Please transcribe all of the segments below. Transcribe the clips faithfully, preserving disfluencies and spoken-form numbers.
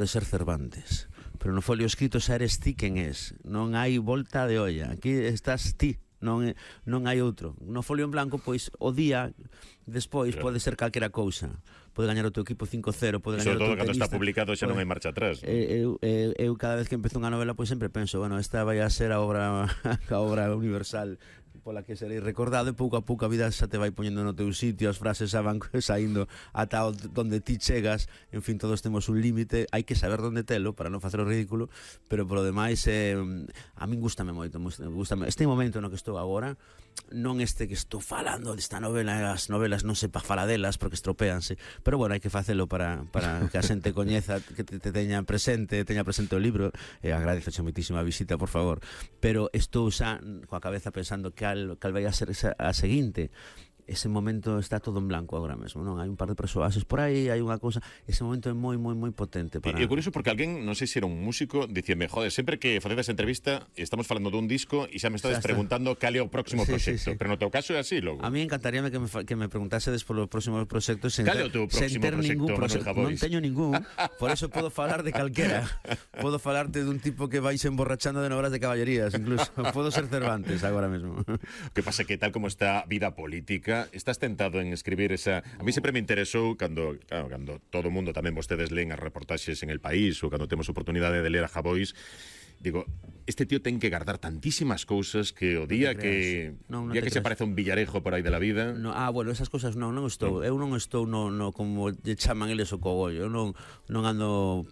de ser Cervantes, pero no folio escrito xa eres ti quen es, non hai volta de olla, aquí estás ti, non, non hai outro. No folio en blanco, pois, o día despois claro. Pode ser calquera cousa, pode gañar o teu equipo cinco cero, pode gañar o teu tenista. Sobre todo cando está publicado xa non hai marcha atrás, ¿no? Eu, eu, eu cada vez que empezo unha novela, pois sempre penso, bueno, esta vai a ser a obra a obra universal pola que serei recordado, e pouco a pouco a vida xa te vai poñendo no teu sitio, as frases xa van saindo ata onde ti chegas. En fin, todos temos un límite, hai que saber onde telo para non facer o ridículo, pero polo demais eh, a min gústame moito, gústame este momento no que estou agora, non este que estou falando desta novela, as novelas non se pa fala delas porque estropeanse, pero bueno, hai que facelo para, para que a xente coñeza, que te, te teña presente, teña presente o libro, e agradezo xa moitísima visita, por favor, pero estou xa coa cabeza pensando que cal, cal vai a ser esa, a seguinte. Ese momento está todo en blanco agora mesmo, non? Hai un par de persoaxes por aí, hai unha cousa, ese momento é moi, moi, moi potente para... E, e curioso porque alguén, non sei se era un músico, dicíame, joder, sempre que facedes entrevista estamos falando dun disco e xa me estades preguntando cal é o próximo sí, proxecto, sí, sí. Pero no teu caso é así, logo. A mí encantaríame que me, que me preguntasedes polo próximo proxecto sen, cal é o teu próximo ter ningún proxecto. Non teño ningún, por eso podo falar de calquera. Podo falarte dun tipo que vais emborrachando de novelas de caballerías, incluso. Podo ser Cervantes agora mesmo. O que pasa que tal como está a vida política, estás tentado en escribir esa... A mí sempre me interesou cando, claro, cando todo o mundo, tamén vostedes leen as reportaxes en El País ou cando temos oportunidade de ler a Javois, digo, este tío ten que guardar tantísimas cousas que o día no que non, non día que creas. Se parece un villarejo por aí de la vida. No, ah, bueno, esas cousas non, non estou, no. Eu non estou no, no como lle chaman eles o cogollo. Eu non non ando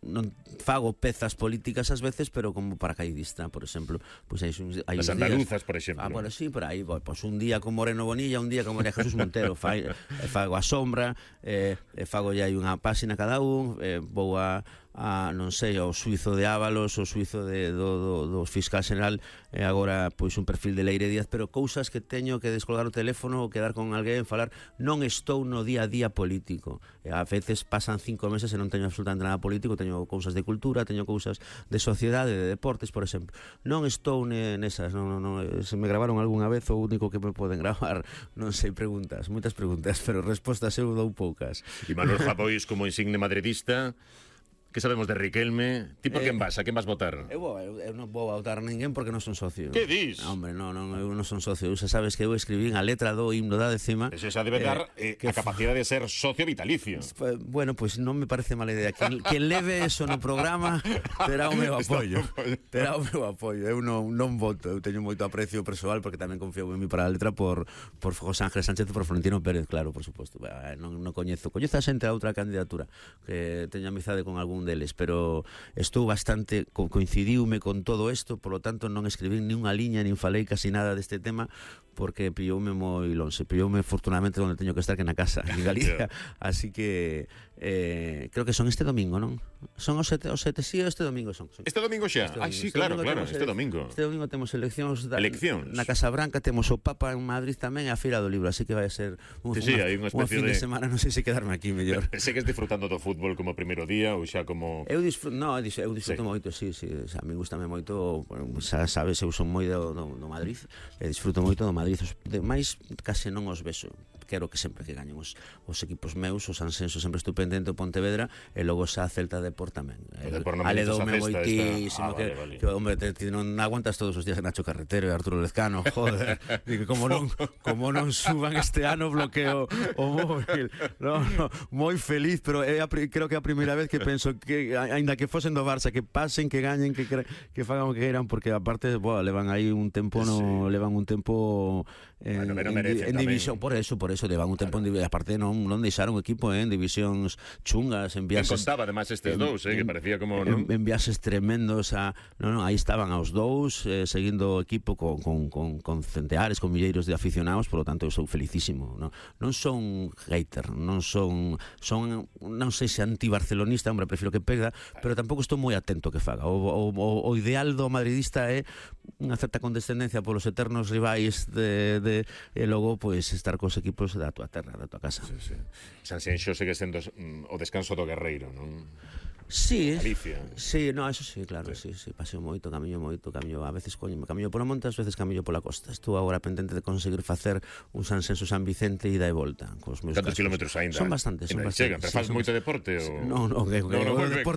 non fago pezas políticas ás veces, pero como paracaidista, por exemplo, pois pues hai hai as andaluzas, días, por exemplo. Ah, bueno, sí, por aí, pois pues un día con Moreno Bonilla, un día con María Jesús Montero, fai, fago a sombra, eh, fago ya hai unha páxina cada un, eh, vou a a, non sei, ao suizo de Ábalos, o suizo de, do, do, do fiscal general, e agora pois un perfil de Leire Díaz, pero cousas que teño que descolgar o teléfono ou quedar con alguén, falar, non estou no día a día político. E a veces pasan cinco meses e non teño absolutamente nada político, teño cousas de cultura, teño cousas de sociedade, de deportes, por exemplo. Non estou nesas, non, non, non, se me gravaron algunha vez, o único que me poden gravar, non sei, preguntas, moitas preguntas, pero respostas eu dou poucas. E Manuel Javois, como insigne madridista, que sabemos de Riquelme? Ti por quen vas? A quen vas votar? Eu, vou, eu, eu non vou votar ninguén porque non son socio. Que dis? No, hombre, non, non, eu non son socio. Xa sabes que eu escribín a letra do himno da décima. Eso xa debe dar eh, eh, a capacidade de ser socio vitalicio. Bueno, pois pues non me parece mala idea. Quen, quen leve eso no programa terá o meu apoio. Terá o meu apoio. Eu non, non voto. Eu teño moito aprecio persoal porque tamén confío en mí para a letra por, por José Ángel Sánchez e por Florentino Pérez, claro, por suposto. Non, non coñezo. Coñezo a xente a outra candidatura que teño amizade con algún deles, pero estou bastante, co coincidiume con todo isto, polo tanto non escribín ni unha liña, nin falei casi nada deste tema, porque pilloume moi lonxe, pilloume afortunadamente onde teño que estar, que na casa, en Galicia, así que eh, creo que son este domingo, non? Son os sete, os sete, sí, este domingo son. son. Este domingo xa? Este domingo. Ah, sí, este claro, claro, este domingo. Este domingo temos eleccións, da, eleccións na Casa Branca, temos o Papa en Madrid tamén, e a Feira do Libro, así que vai a ser un, sí, sí, unha, hai unha especie fin de... de semana, non sei se quedarme aquí mellor. Segues disfrutando do fútbol como primeiro día ou xa como... Eu disfruto, no, eu disfruto sí. moito, sí, sí, xa, a mí gustame moito, xa sabes, eu son moi do, do, do Madrid, e disfruto moito do Madrid, de máis case non os vexo. Quero que sempre que gañen os, os equipos meus, os Sansenso sempre estou pendente o Pontevedra, e logo xa Celta Depor tamén. Aledoume moitísimo, ah, que, vale, vale. que hombre, te, te non aguantas todos os días Nacho Carretero e Arturo Lezcano, joder, digo, como non, como non suban este ano bloqueo o móvil. No, no, moi feliz, pero é a, creo que é a primeira vez que penso que aínda que fosen do Barça, que pasen, que gañen, que que fagan o que queiran, porque aparte, boa, levan aí un tempo no, sí. levan un tempo en, bueno, no en, en división, por eso, por eso levan un tempo, claro. En aparte non non deixaron o equipo eh, en divisións chungas, en viaxes. En contaba además estes en, dous, eh, que parecía como, non? En, en viaxes tremendos a, non, non, aí estaban aos dous, eh, seguindo o equipo con con con con centeares, con milleiros de aficionados, por lo tanto eu sou felicísimo, non? Non son hater, non son son non sei se anti-barcelonista, hombre, prefiro que perda, pero tampouco estou moi atento que faga. O, o, o ideal do madridista é unha certa condescendencia polos eternos rivais de, de e logo pois pues, estar cos equipos da tua terra, da tua casa. Sí, sí. Sanxenxo segue sendo mm, o descanso do guerreiro, non? Sí, Galicia. Sí, no, eso sí, claro, sí, sí, sí, paseo moito, camiño moito, camiño, a veces coño, camiño pola monte, ás veces camiño pola costa. Estou agora pendente de conseguir facer un Sansenso San Vicente ida e volta cos meus. Cantos kilómetros aínda? Son bastantes, son bastantes. Chegan, pero faz sí, moito deporte ou No, no, que, que, no, no, o deporte